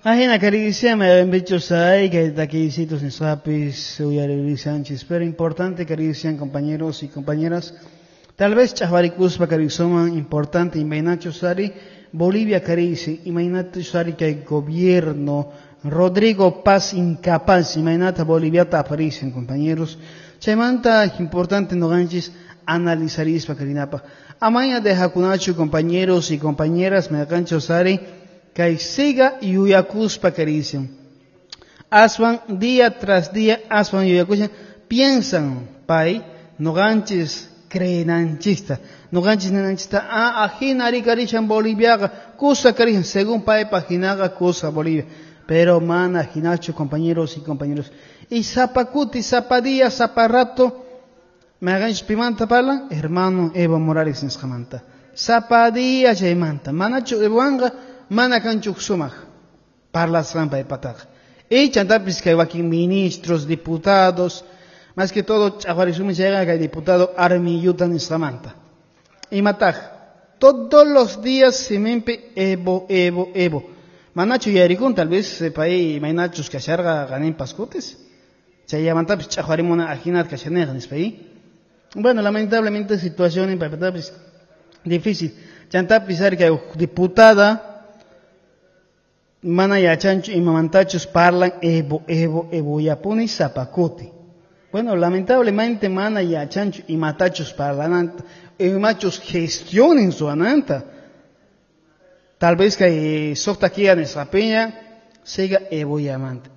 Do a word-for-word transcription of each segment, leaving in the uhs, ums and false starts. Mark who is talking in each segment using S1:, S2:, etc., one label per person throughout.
S1: Ajina caricia me bichos hay que taquicitos nisqapis uyaririshanchis, pero importante carician compañeros y compañeras. Tal vez chahwarikuspa carizoman importante imaynachus sari Bolivia carici imaynachus sari que gobierno Rodrigo Paz incapaz imaynata Boliviata aparecen compañeros. Chaymanta importante noqanchis analizarispa karinapaq. Amaña de hakunachu compañeros y compañeras mayqanchus sari kay siga yuyakuspa karician. Aswan día tras día aswan yuyakushan piensan pay noqanchis creenanchista noqanchis ninanchista ah ajina ari karishan Boliviaqa kusa karishan según paypa jinaqa kusa Bolivia, pero mana jinachu compañeros y compañeros. Y zapacuti zapadía zaparrato mayqanchis pimanta parlan hermano Evo Morales nisqamanta zapadía chaymanta manachu Evowanqa mana kanchu sumaq parlasqan paypataqa. Y chantapis kay wakin ministros, diputados, más que todo ch'aqwarisumi chayqa kay diputado Armiyuta nisqamanta. Imataq todos los días siminpi Evo, Evo, Evo. Manachu yarikun tal vez pay imaynachus kasharqa qaninpas kutis. Chaymantapis ch'aqwarimuna ajinat kashaneqa nispay. Bueno, lamentablemente situación en paypatapis difícil. Chantapis ari kay diputada mana yachanchu imamantachus parlan Evo, Evo, Evo yapuni zapacuti. Bueno, lamentablemente mana yachanchu imatachus parlananta, imachus gestionen suananta. Tal vez que socta kia nuestra peña siga Evo yamante.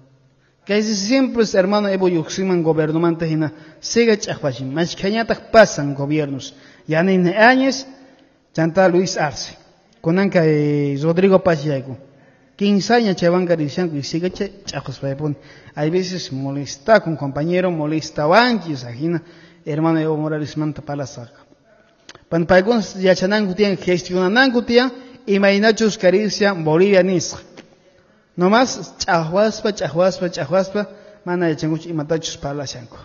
S1: Que siempre es hermano Evo yuximan gobiernomante hina siga ch'aqwachin. Mashkhañataq pasan gobiernos. Yanine Áñez, chanta Luis Arce. Kunanka eh, Rodrigo Paz yayku. Quince chaywan karishanku y sigue ch'aqwaspaypuni. Hay veces molesta con compañero, molesta wanchis, ajina hermano Evo Morales manta palasaka. Pan paykunas yachananku tiyan, gestionananku tiyan, imaynachus karisia Bolivia nisqa. Nomás ch'aqwaspa, ch'aqwaspa, ch'aqwaspa, mana yachankuchu imatachus parlashanku.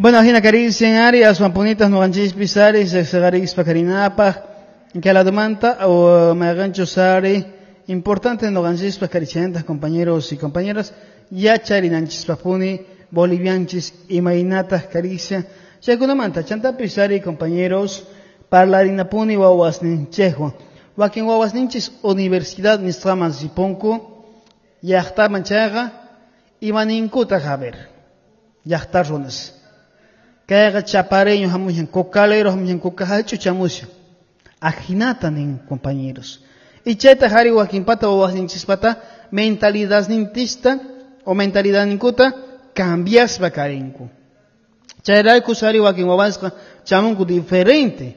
S1: Bueno, ajina karisian ari, aswan punitas noqanchispis ari, seqseqarispa karinapaq, kaladomanta o mayqanchus ari, importante noqanchispaq karichantas compañeros y compañeras, yacharinanchispaqpuni bolivianchis imaynataq karisia, chaykunamanta chantapis ari compañeros parlarinapuni wawasninchikwan. Wakin wawasninchis universidad nisqaman ripunku, llaqtaman chayqa imaninkutaq a ver, llaqta runas. Kayqa chapareño hamushan, cocalero hamushan, cocahach'u chamushan. Ajinata nin compañeros. Y chayta hari wakinpata wawasninchispata mentalidadnintista o mentalidadninkuta cambiaspa karinku. Chayrayku sari wakin wawasqa chamunku diferente.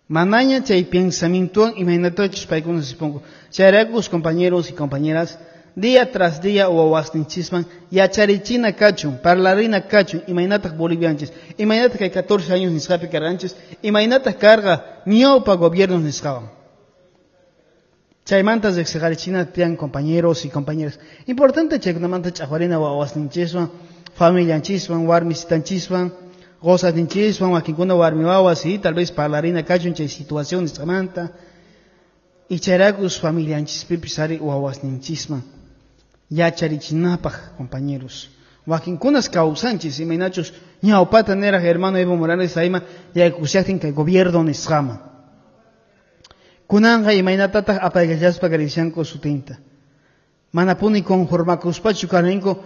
S1: Manaña chay pensamientowan imaynatachus paykuna sipunku. Chayrayku compañeros y compañeras día tras día wawasninchisman yacharichina kachun, parlarina kachun, imaynataq bolivianchis, imaynataq kay catorce años nisqapi karqanchis, imaynataq karqa ñawpa gobiernos nisqawan. Chaymanta riqsiqarichina tiyan compañeros y compañeras. Importante chaykunamanta ch'aqwarina wawasninchiswan, familianchiswan, warmisitanchiswan, qosasninchiswan, wakinkuna warmi wawas, y tal vez parlarina kachun chay situación nisqamanta. Y chayraykus familianchispipis ari wawasninchisman yacharichinapaq compañeros. Wakinkunas kawsanchis imaynachus ñawpata niraq hermano Evo Morales ayma yaykushaqtin kay gobierno nisqaman. Kunanqa imaynatataq apaykachaspa karishanku sutinta. Manapuni conformakuspachu karinku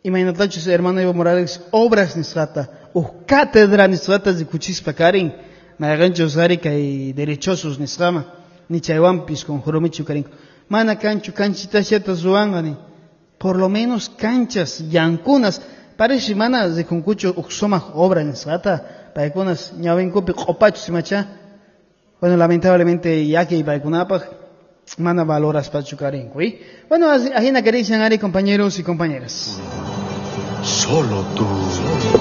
S1: imaynatachus hermano Evo Morales obras nisqata uj cátedra nisqata rikuchispa karin mayqanchus ari kay derechosos nisqaman ni chaywanpis conformichu karinku. Mana kanchu kanchitashata ruwanqa ni por lo menos canchas llankunas parece mana rikunkuchu uj sumaq obra nisqata paykunas ñawinkupi q'upachus imacha. Bueno, lamentablemente llaki paykunapaq mana valoraspachu karinku. ¿Y? Bueno, ajina karishan ari compañeros y compañeras.
S2: Solo tú.